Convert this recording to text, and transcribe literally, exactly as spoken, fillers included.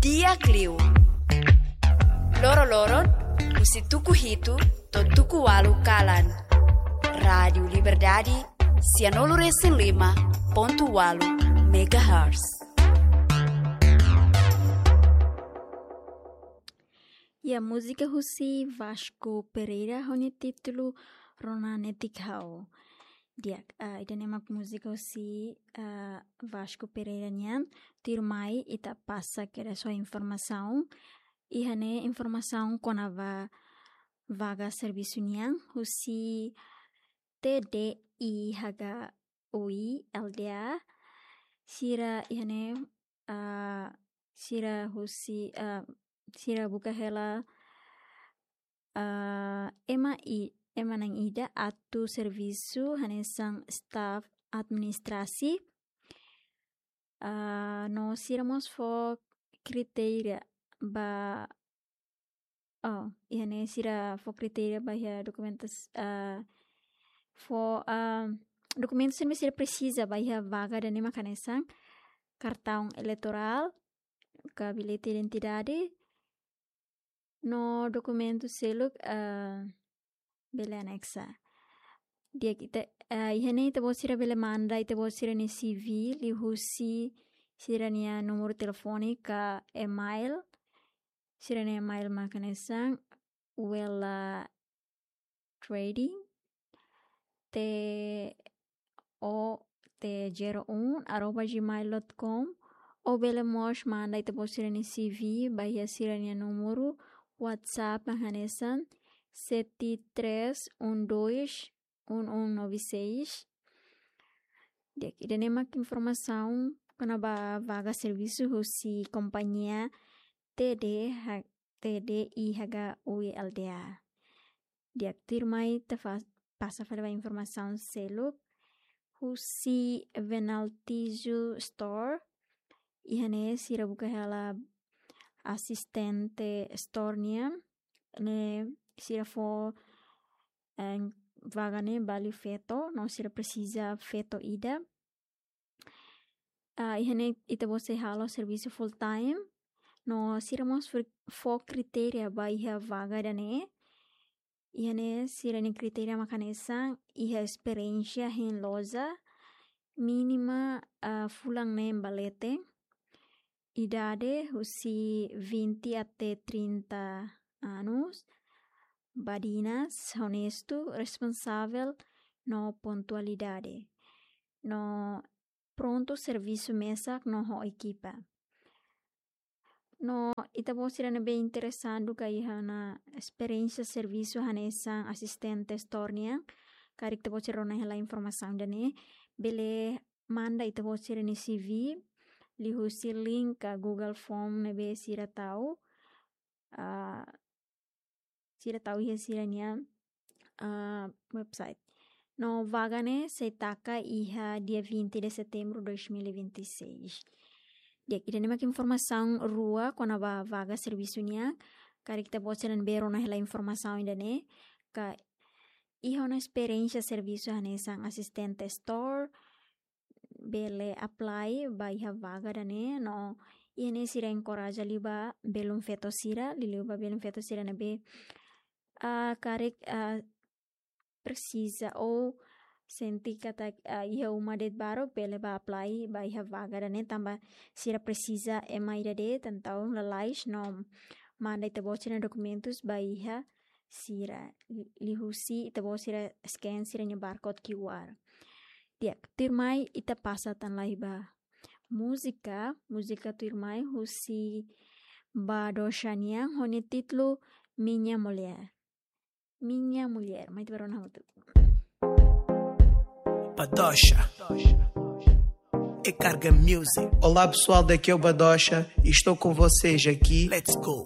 Di'ak liu. Loroloron, husi tuku hitu to'o tuku ualu kalan. Rádiu Liberdade, sianulu-resin-lima pontu ualu megahertz. Ya, múzika husi Vasco Pereira, ho nia títulu Rona Netik Ha'u. Di'ak, ah, ida-ne'e mak múzika husi, ah, Vasco Pereira nian. Tuirmai ita pasa kedas ho informasaun. Iha ne'e informasaun kona-ba vaga servisu nian husi T D I H K U I L D A. Sira iha ne'e, ah, sira husi, ah, sira buka hela, ah, ema i-, ema na'in ida atu servisu hanesan staf administrasi. Ah, no sira mós fó kritéria ba, oh, iha ne'e sira fó kritéria ba iha dokumentus, ah, fó, ah, dokumentus ne'ebé sira presiza ba iha vaga ida-ne'e mak hanesan kartaun eleitorál, ka bilhete identidade, no dokumentu seluk, ah, bele anexa. Di'ak, ita, ah, iha ne'e ita-boot sira bele manda ita-boot sira-nia C V liuhusi sira-nia númeru telefone ka email. Sira-nia email mak hanesan Wela Trading, T O T zero um arroba gmail dot com, ou bele mós manda ita-boot sira-nia C V ba iha sira-nia númeru WhatsApp mak hanesan sete três um dois um um nove seis. Di'ak, ida-ne'e mak informasaun kona-ba vaga servisu husi kompañia T D H, T D I H K U I L D A. Di'ak, tuirmai ita fa-, pasa fali ba informasaun seluk husi Venaltijo Store. Iha ne'e sira buka hela asistente store nian. Ne'e sira fó, eh, vaga ne'e ba liu feto, no sira presiza feto ida. Ah, iha ne'e ita-boot sei halo servisu full time. No sira mós fó, fó kritéria ba iha vaga ida-ne'e. Iha ne'e sira-nia kritéria mak hanesan iha esperiénsia hein loja, mínima, ah, fulan neen ba leten. Idade husi vinte até trinta anos. Badinas, onestu, responsavel, no pontualidade. No prontu servisu mesak no ho ekipa. No ita-boot sira ne'ebé interesadu ka iha ona esperiénsia servisu hanesan asistente store nian, karik ita-boot sira rona hela informasaun ida-ne'e, bele manda ita-boot sira-nia C V liuhusi link ka Google Form ne'ebé sira tau, ah, sira tau iha sira-nia, ah, website. No vaga ne'e sei taka iha dia vinte de setembro dois mil e vinte e seis. Di'ak, ida-ne'e mak informasaun rua kona-ba vaga servisu nian. Karik ita-boot sira ne'ebé rona hela informasaun ida-ne'e, ka iha ona esperiénsia servisu hanesan asistente store, bele apply ba iha vaga ida-ne'e, no iha ne'e sira enkoraja liu ba belun feto sira, liuliu ba belun feto sira ne'ebé, ah, karik, ah, presiza ou sente katak, ah, iha uma de'it baruk, bele ba apply ba iha vaga ida-ne'e, tanba sira presiza ema ida de'it, entaun lalais no manda ita-boot sira-nia dokumentus ba iha sira, li-, liuhusi ita-boot sira scan sira-nia barcode Q R. Di'ak, tuirmai ita pasa tan lai ba múzika, múzika tuirmai husi Badoxa nian ho nia títulu Minha Mulher. Minha Mulher, mai ita bá rona hamutuk. Badoxa. É Carga Music. Olá, pessoal, daqui é o Badoxa e estou com vocês aqui. Let's go.